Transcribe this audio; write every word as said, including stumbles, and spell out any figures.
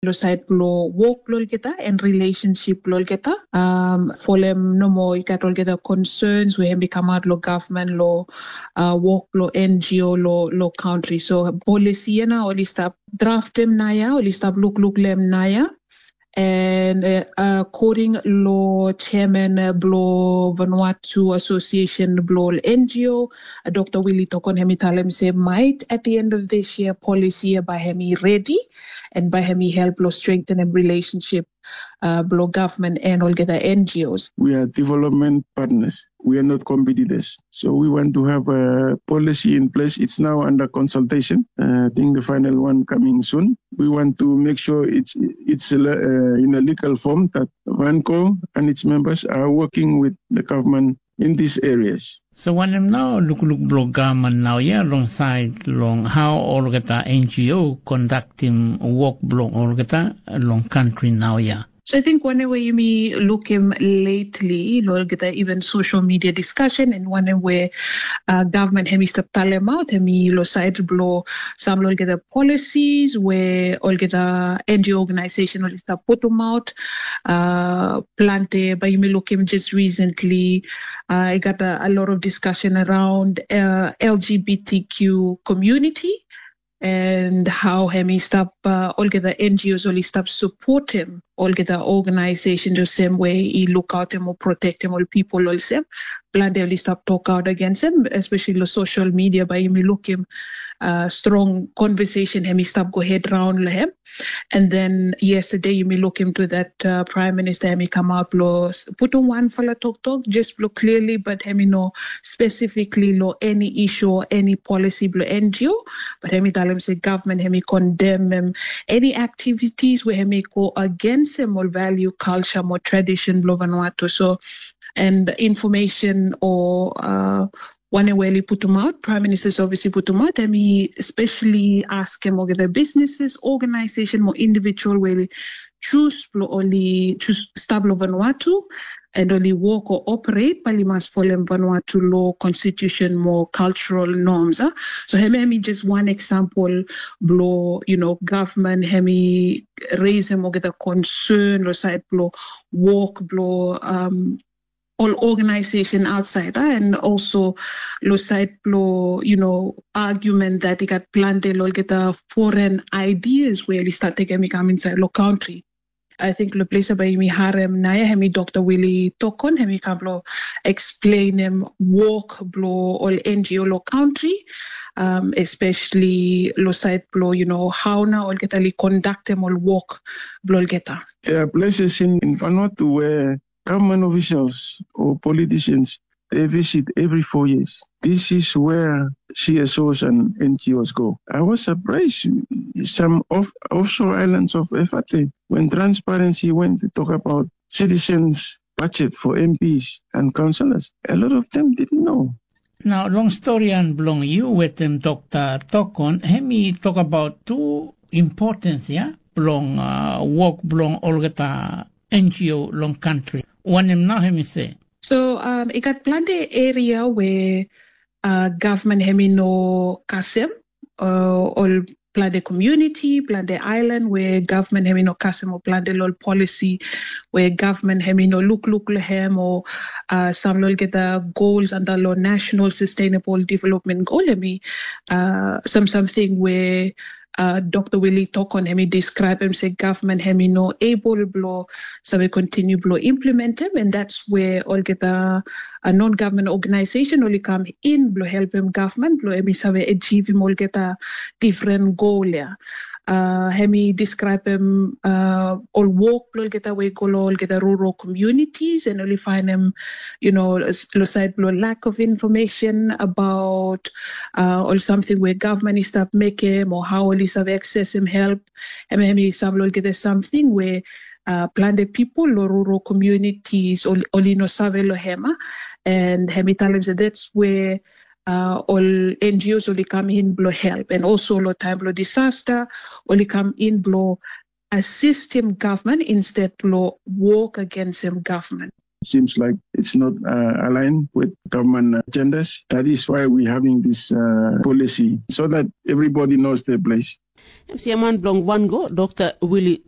lo sait bilong wok bilong olgeta and relationship bilong olgeta. Um, folem nomo i gat olgeta concerns we hem i kamap lo government lo uh, wok bilong N G O lo, lo country. So policy na oli stap draftem naya, oli stap lukluk lem naya. And uh, according lo chairman uh, blo Vanuatu Association blo N G O, uh, Dr. Willie Tokon, hem i talem se might at the end of this year policy by hem i ready and by hem i help lo strengthen em relationship uh, blo government and olgeta N G Os. We are development partners. We are not competitors. So we want to have a policy in place. It's now under consultation. Uh, I think the final one coming soon. We want to make sure it's it's uh, in a legal form that Vanco and its members are working with the government in these areas. So wanem nau lukluk bilong gaman nau ya long sait long hau olgeta N G O kondaktim wok bilong olgeta long kantri nau ya? So I think whenever you me look him lately, olgeta even social media discussion and whenever uh, government hem step talem out, hem lo side blow some olgeta policies where olgeta N G O organization ol stap putum out uh, plante by you me look him just recently. Uh, I got a, a lot of discussion around uh, L G B T Q community and how hem i stap uh, olgeta N G Os ol i stap support him olgeta organization the same way i look out him or protect him all people olsem. Blande ol i stap talk out against him, especially lo social media by him i look him uh, strong conversation hem i stap go head round lo him. And then yesterday you may look into that uh, prime minister hem i come out lo putum one fala talk talk just lo clearly but hem i no specifically lo any issue or any policy blo N G O, but hem i tell him say government hem i condemn him any activities where hem i go against him or value culture or tradition blo Vanuatu. So and information or uh, one way li putum out, Prime Minister's Office i putum out, and he especially ask him over the businesses, organization, more individual way li choose blo only choose stablo Vanuatu and only work or operate by li must follow Vanuatu law, constitution, more cultural norms. Huh? So hemi hemi just one example blo, you know, government hemi raise him over the concern or side blo work blo um, all organization outside uh, and also lo side blo you know argument that i gat plante lo olgeta foreign ideas where li start taking mi come inside lo country. I think lo place by mi harem naya hemi Doctor Willie Tokon hemi come lo explain him work blo all N G O lo country, um, especially lo side blo you know how na olgeta li conduct him all work blo olgeta. There are places in, in Vanuatu where government officials or politicians, they visit every four years. This is where C S Os and N G Os go. I was surprised some of offshore islands of Efate when Transparency went to talk about citizens budget for M Ps and councillors. A lot of them didn't know. Now, long story and belong you with them, Doctor Tokon, hemi talk about two importance, yeah, belong uh, work belong olgeta N G O long country. Wanem nau hem i se? So um, i gat plante area where uh, government hem i no kasem uh, ol plante community, plante island where government hem i no kasem o plante lol policy where government hem i no look look lehem or uh, some lol get the goals under lo national sustainable development goal hem i uh, some something where uh, Doctor Willie Tokon hemi describe him say government hemi no able blo save continue blo implement him, and that's where olgeta a non-government organization oli come in blo help him government blo hemi save achieve him olgeta different goal ya. Uh, hemi describe him uh, all work blo olgeta we go lo olgeta rural communities and oli find him you know lo side blo lack of information about uh, or something where government is stop make him or how oli save access him help. Em em i sam lo olgeta something where uh, plante people lo rural communities oli no save lo hema, and hemi talim se that's where uh, all N G Os oli come in blo help and also lo time blo disaster oli come in blo assist him government instead blo work against him government. seems like it's not uh, aligned with government agendas. That is why we're having this uh, policy, so that everybody knows their place. Em siaman bilong Wango, Dr. Willie